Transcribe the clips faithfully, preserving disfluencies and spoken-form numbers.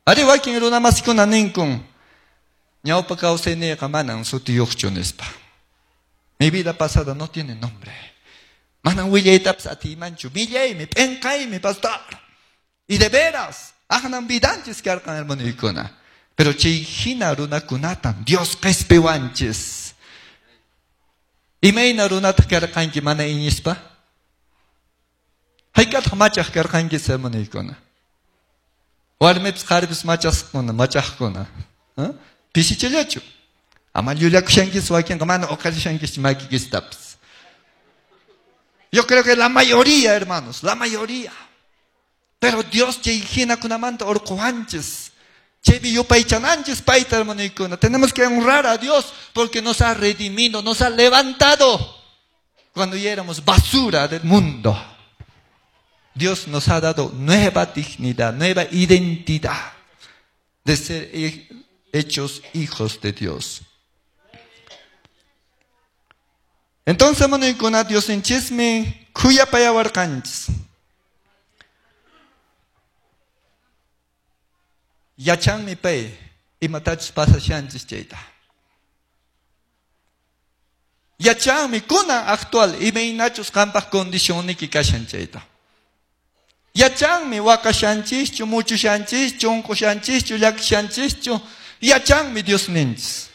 Ari wakin runamasikuna ninkun, ñawpa kawsayniyqa manan sutiyuqchu nispa. Mi vida pasada no tiene nombre. Manan willaytapas atiymanchu, millaymi, p'inqaymi, pastor. Y de veras, aqnan vidanchis karqan hermanoykuna. Pero chay hina runakunatam Dios qespiwanchis. Imayna runataq karqanki mana iñispa? Hayk'ataq machaq karqanki hermanoykuna? Warmipis qharipis machaqkuna, machaqkuna. Pisichallachu. Ama llullakushankis wakinqa mana uqarishankis makikistapas. Yo creo que la mayoría, hermanos, la mayoría. Pero Dios chay hinakunamanta urquwanchis. Chaypi yupaychananchis payta, hermanoykuna. Tenemos que honrar a Dios porque nos ha redimido, nos ha levantado cuando ya éramos basura del mundo. Dios nos ha dado nueva dignidad, nueva identidad de ser hechos hijos de Dios. Entonces, hermanoykuna, Diosninchismi khuyapayawarqanchis. Yachanmi pay imatachus pasashanchis chayta. Yachanmi kunan actual imaynachus qampaq condicionniki kashan chayta. Yachanmi waqashanchischu, muchushanchischu, unqushanchischu, llakishanchischu. Yachanmi Diosninchis.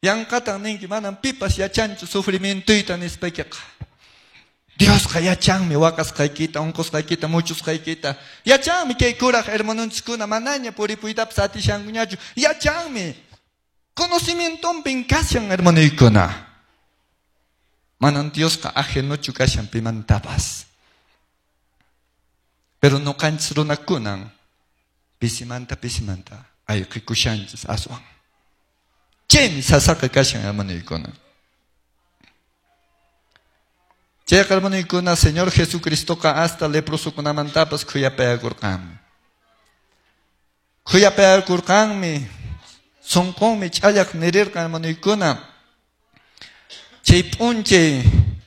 Yanqatan ninki manam pipas yachanchu sufrimientoyta nispaykiqa. Diosqa yachanmi waqasqaykita, unqusqaykita, muchusqaykita. Yachanmi kay kuraq hermanonchiskuna manaña puripuytapas atishankuñachu. Yachanmi. Conocimientonpin kashan hermanoykuna. Manan Diosqa ajenochu kashan pimantapas. Pero noqanchis runakunan pisimanta pisimanta ayqikushanchis aswan. Chaymi sasaqa kashan hermanoykuna. Chayqa hermanoykuna, Señor Jesucristoqa hasta leprosokunamantapas khuyapayakurqanmi. Khuyapayakurqanmi, sunqunmi ch'allaq nirirqan hermanoykuna. Chay p'unchay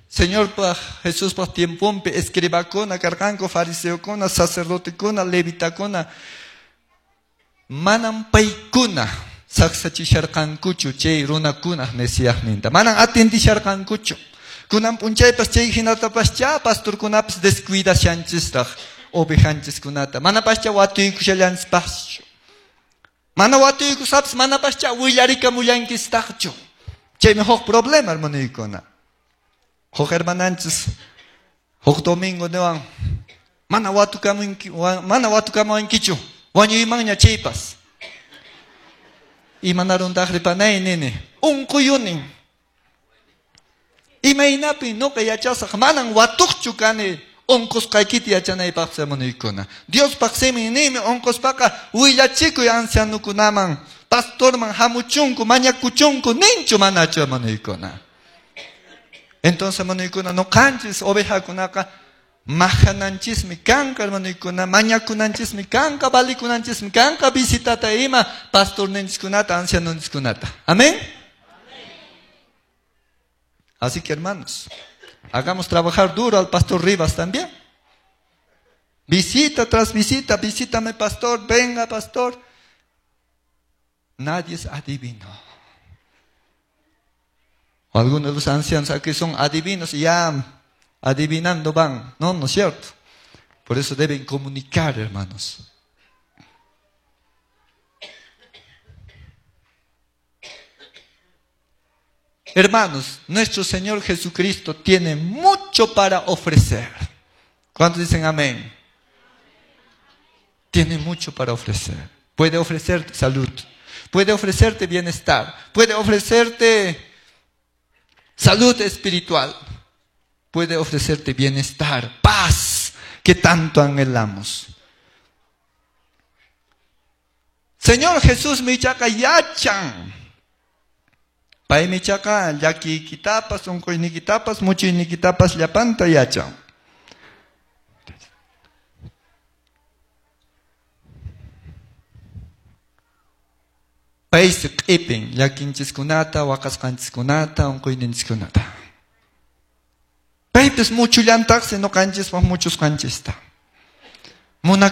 Señorpaq Jesuspaq tiemponpi escribakuna karqanku, fariseokuna, sacerdotekuna, levitakuna, manam paykuna saqsachisharqankuchu chay runakunaq Mesíasninta. Manam atendisharqankuchu. Kunan p'unchaypas chay hinatapaschá pastorkunapas descuidashanchisraq ovejanchiskunata. Manapascha watuykushallanchispaschu. Mana watuykusapis manapascha willarikamullankistaqchu. Chaymi huk problema, hermanoykuna. Huk hermananchis huk domingo niwan mana watukamunki mana watukamuwankichu wañuymanña chaypas. Imanaruntaq ripanay nini unquyunin. Imaynapi noqa yachasaq manan watuqchu kani unqusqaykita yachanaypaq hermanoykuna. Diospaq simin ninmi unquspaqa willachikuy ancianukunaman, pastorman hamuchunku, mañakuchunku, ninchu manachu hermanoykuna. Entonces hermanoykuna, noqanchis ovejakunaqa majananchismi kanqa hermanoykuna, mañakunanchismi kanqa, valikunanchismi kanqa visitata ima pastorninchiskunata, ancianonchiskunata. Amén. Así que hermanos, hagamos trabajar duro al pastor Rivas también. Visita tras visita, visítame pastor, venga pastor. Nadie es adivino. O algunos de los ancianos aquí son adivinos y ya adivinando van. No, no es cierto. Por eso deben comunicar, hermanos. Hermanos, nuestro Señor Jesucristo tiene mucho para ofrecer. ¿Cuántos dicen amén? Tiene mucho para ofrecer. Puede ofrecerte salud, puede ofrecerte bienestar, puede ofrecerte salud espiritual, puede ofrecerte bienestar, paz que tanto anhelamos. Señor Jesús michaqa yachan. Paymi chaqa llakiykitapas, unquynikitapas, muchuynikitapas llapanta yachan. Paysi q'ipin llakinchiskunata, waqasqanchiskunata, unquyninchiskunata. Paypis muchullantaqsi ñuqanchispaq muchusqanchista. Munak